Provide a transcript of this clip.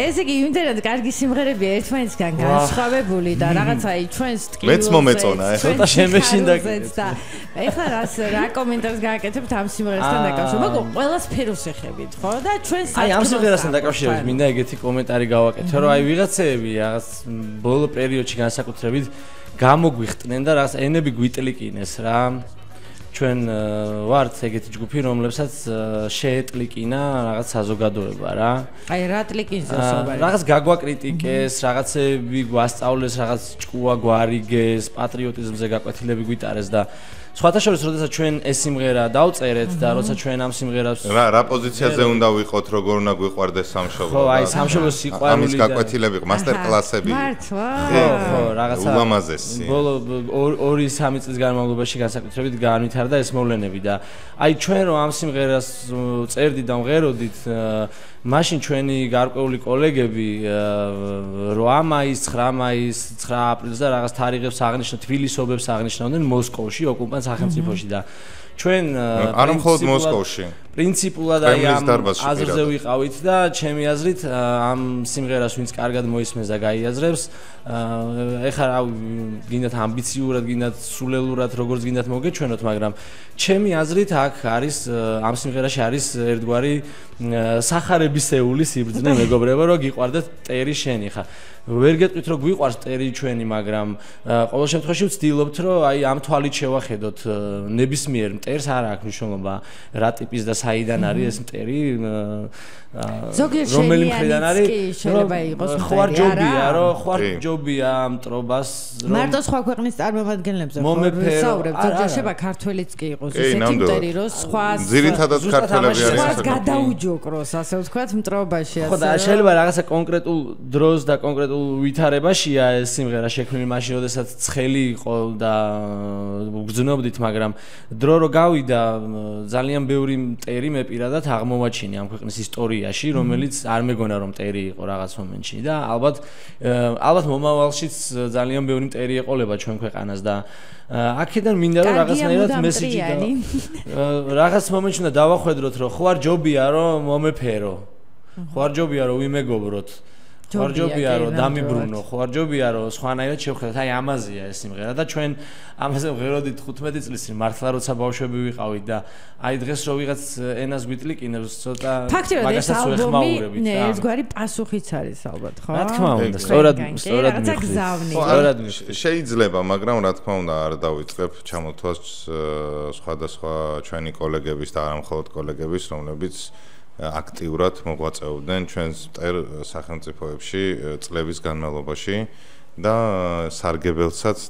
ესე იგი იმდენად კარგი სიმღერებია ერთმანეთისგან განსხვავებული და რაღაცა ჩვენს ტკივილზე მეც მომეწონა ცოტა შემეშინდა და ეხლა რა კომენტარს გააკეთებთ ამ სიმღერასთან დაკავშირებით მაგრამ ყველას ფეროს ეხებით ხო და ჩვენ აი ამ სიმღერასთან დაკავშირებით მინდა ეგეთი კომენტარი გავაკეთო რომ აი ვიღაცები რაღაც ბოლო პერიოდში განსაკუთრებით გამოგვიხტნენ და რაღაც ენები გვიტლიკინეს რა ჩვენ ვართ ეგეთი ჯგუფი რომლებსაც შეეტლიკინა რაღაც საზოგადოება რა აი რა ტლიკინს ასობარი რაღაც გაგვაკრიტიკეს რაღაცები გვასწავლეს რაღაც ჭკუა გვარიგეს პატრიოტიზმზე გაკვეთილები გვიტარეს და სხვათა შორის როდესაც ჩვენ ეს სიმღერა დავწერეთ და როცა ჩვენ ამ სიმღერას რა პოზიციაზე უნდა ვიყოთ როგორ უნდა გვიყვარდეს სამშობლო ხო აი სამშობლოს სიყვარული ამის გაკვეთილები მასტერ კლასები ხო რაღაცა ულამაზესი ბოლო 2-3 წლის განმავლობაში განსაკუთრებით განვითარდა ეს მოვლენები და აი ჩვენ რომ ამ სიმღერას წერდით და მღეროდით მაშინ ჩვენი გარკვეული კოლეგები 8 მაისს 9 მაისს 9 აპრილს და რაღაც თარიღებს აღნიშნავდნენ თბილისობებს აღნიშნავდნენ მოსკოვში ოკუპანტ სახელმწიფოში და ჩვენ არ მხოლოდ მოსკოვში პრინციპულად აი ამ აზრზე ვიყავით და ჩემი აზრით ამ სიმღერას ვინც კარგად მოისმენს და გაიაზრებს ეხლა რა გინდათ ამბიციურად გინდათ სულელურად როგორც გინდათ მოგეჩვენოთ მაგრამ ჩემი აზრით აქ არის ამ სიმღერაში არის ერთგვარი სახარებისეული სიბრძნე მეგობრებო რომ გიყვარდეთ ტერი შენი ხა ვერ გეტყვით რომ გვიყვარს ტერი ჩვენი მაგრამ ყოველ შემთხვევაში ვცდილობთ რომ აი ამ თვალით შევახედოთ ნებისმიერ მტერს არ აქვს მნიშვნელობა რა ტიპის და საიდან არის ეს მტერი რომელი მხრიდან არის შეიძლება იყოს ხვარჯობია რომ ხვარჯობია მტრობას მარტო სხვა ქვეყნის წარმომადგენლებზე ვსაუბრობ ზოგჯერშება ქართველიც კი იყოს ისეთი მტერი რომ სხვა ძირითადად ქართველები არის სხვა გადაუჯოკროს ასე ვთქვათ მტრობაში ხო და შეიძლება რაღაცა კონკრეტულ დროს და კონკრეტულ ვითარებაშია ეს სიმღერა შექმნილი მაშინ როდესაც ცხელი იყო და გძნობდით მაგრამ დრო რო გავიდა ძალიან ბევრი მტერი მე პირადად აღმოვაჩინე ამ ქვეყნის ისტორიაში რომელიც არ მეგონა რომ მტერი იყო რაღაც მომენტში და ალბათ მომავალშიც ძალიან ბევრი მტერი ეყოლება ჩვენ ქვეყანას და აქედან მინდა რომ რაღაცნაირად მესიჯი და რაღაც მომენტში უნდა დავახვედროთ რომ ხო არ ჯობია რომ მომეფერო ხო არ ჯობია რომ ვიმეგობროთ ხوارჯობია რომ დამიბრუნო, ხوارჯობია რომ სხვანაირად შევხედოთ. აი ამაზეა ეს სიმღერა და ჩვენ ამაზე ვღეროდით 15 წლის წინ მართლა როცა ბავშვები ვიყავით და აი დღეს რო ვიღაც ენას გვიტლიკინებს ცოტა მაგასაც ვეხმაურებით. ნე, ერთგვარი პასუხიც არის ალბათ, ხო? რა თქმა უნდა, სწორად მიხდით. შეიძლება, მაგრამ რა თქმა უნდა არ დავიწყებ ჩამოთვლას სხვადასხვა ჩვენი კოლეგების და არა მხოლოდ კოლეგების, რომლებიც აქტიურად მოღვაწეობდნენ ჩვენს სახელმწიფოებში წლების განმავლობაში და სარგებელსაც